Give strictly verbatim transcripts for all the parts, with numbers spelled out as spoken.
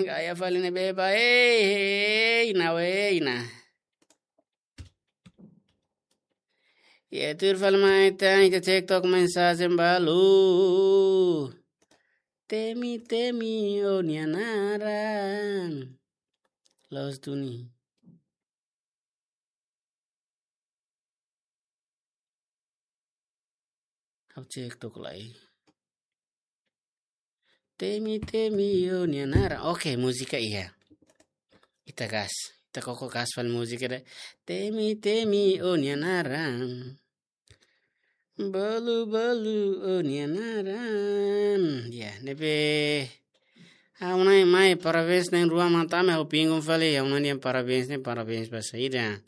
Gaya fali ne'ebé ba, ei, ei, na, ei, na. Iha tuir fali mai tan, ita cek tok mensajen balu. Temi, temi, ó-nia naran. Loos duni. Ha'u cek tok lai. Temi, temi, ó-nia naran. Oke, múzika iha. Ita gas. Ita koko gas fali múzika ida. Temi, temi, ó-nia naran. Balu, balu, ó-nia naran. Ya, ne'ebé. Ha'u-nia mai, parabéns na'in-rua matan, ha'u bingung fali, ha'u-nia parabéns ne'e, parabéns ba saida.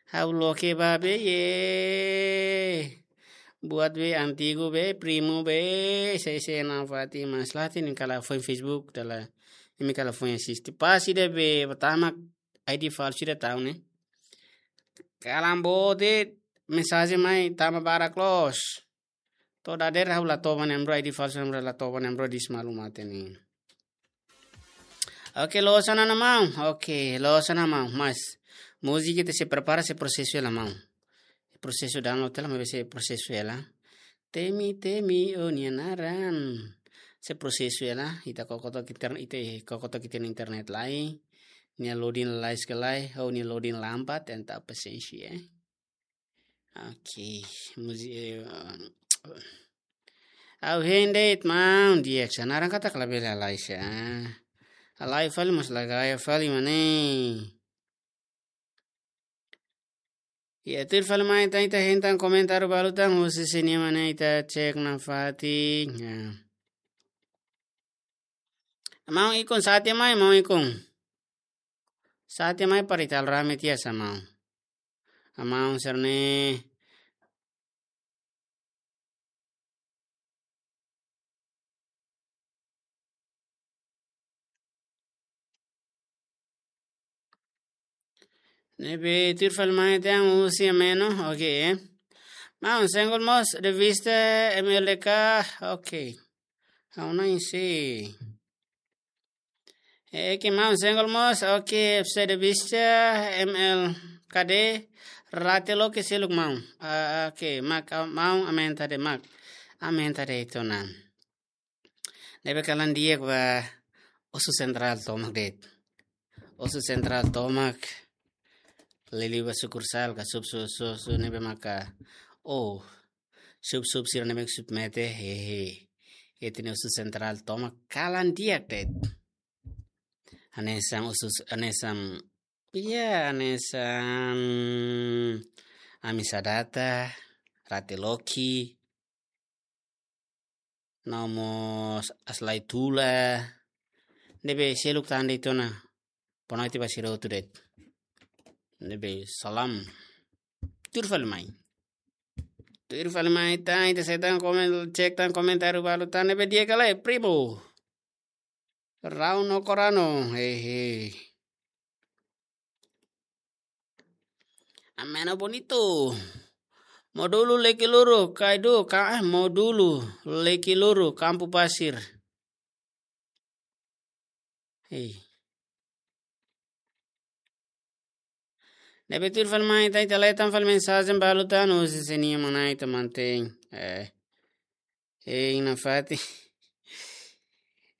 Ha'u loke ba be, ye. Buat be, antigu be, primu be, sei sei na fati mas lati nin kala foin Facebook, dala. Imi kala foin asiste. Pas ida be, pertama, I D falsu ida tau ne'e. Kalan boot, mensajen mai, tama barak loos. To'o dadeer ha'u la toba ne'e, bro, I D falsu ne'e, bro, la toba ne'e, bro, dis malu mate ne'e. Oke, loos ona maun. Oke, loos ona maun. Mas, múzika ita sei prepara, sei prosesu hela maun. Prosesu download hela, maibé sei prosesu hela. Temi, temi, ó-nia naran. Sei prosesu hela, ita koko tok internet, ita koko tok internet lai. Nia loading lalais ka lae, ó-nia loading lambat, entaun pasiénsia, eh. Oke, múzika, eh, ha'u hein de'it maun, di'ak, sa naran katak labele halai sa. Halai fali mas la gaya fali mak ne'e. Ya, tuir fali mai tan, ita hein tan komentáriu balu tan, husi sini mak ne'e ita cek nafatin. Ya. Maun ikun sate mai, maun ikun. Sate mai para ita halo rame tiha sa maun. Maun sira-ne'e. Ne'ebé tuir fali mai tan husi Ameno, oke. Maun, single mós revista M L D K, oke. Ha'u na'in sei. Eh, ke maun single mós, oke, F C de Vista, M L K D, rate loke seluk maun. Ah, oke, mak, ah, maun aumenta de'it mak. Aumenta de'it ona. Ne'ebé kalan di'ak ba, osu sentrál tomak de'it. Osu sentrál tomak. Liuliu ba sukursál ka sub, sub, sub, sub, ne'ebé maka. Oh, sub, sub, sira ne'ebé submete, hehe. Ita-nia osu sentrál tomak kalan di'ak de'it. Hanesan osu, hanesan, ya, hanesan Ami Sadata, Rate Loki, no mós Aslai Tula, ne'ebé seluk tan de'it ona, bonoite ba sira hotu de'it. Ne'ebé salam. Tuir fali mai. Tuir fali mai tan, ita sei tan komen, cek tan komentáriu balu tan, ne'ebé di'ak ka lae, primo. Rau no korano, hehe. Ameno bonito. Módulu Lekiluru, Kaidu, ka, eh, Módulu Lekiluru, Kampu Pasir. Hei. Ne'ebé tuir fali mai tan, ita leten fali mensajen balu tan, husi sini mak ne'e ita mantein. Eh. Hein nafatin.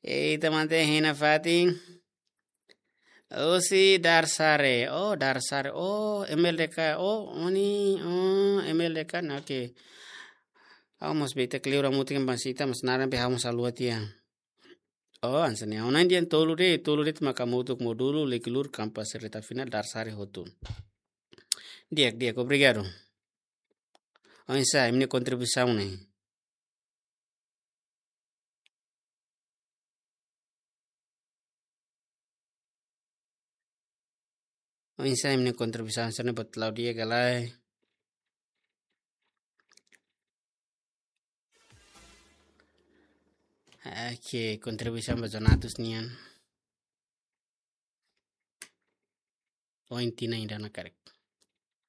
Eh, ita mantein hein nafatin. Husi Darsare. Oh, Darsare. Oh, M L D K. Oh, oni. Oh, M L D K. Nah, oke. Ha'u mós beta kleur hamutuk ba sita, mas naran be ha'u mós haluha tiha. Oh, hanesan ne'e. Ona dian tolu de'it, tolu de'it maka hamutuk Módulu, Lekiluru, Kampu Pasir, reta final, Darsare hotu. Di'ak, di'ak, obrigadu. Oinsá, imi-nia kontribuisaun ne'e. Oinsá imi-nia kontribuisaun sira-ne'e, buat la'o di'ak ka lae. Oke, kontribuisaun ba Jonatus nian. Oh, inti na inda na karek.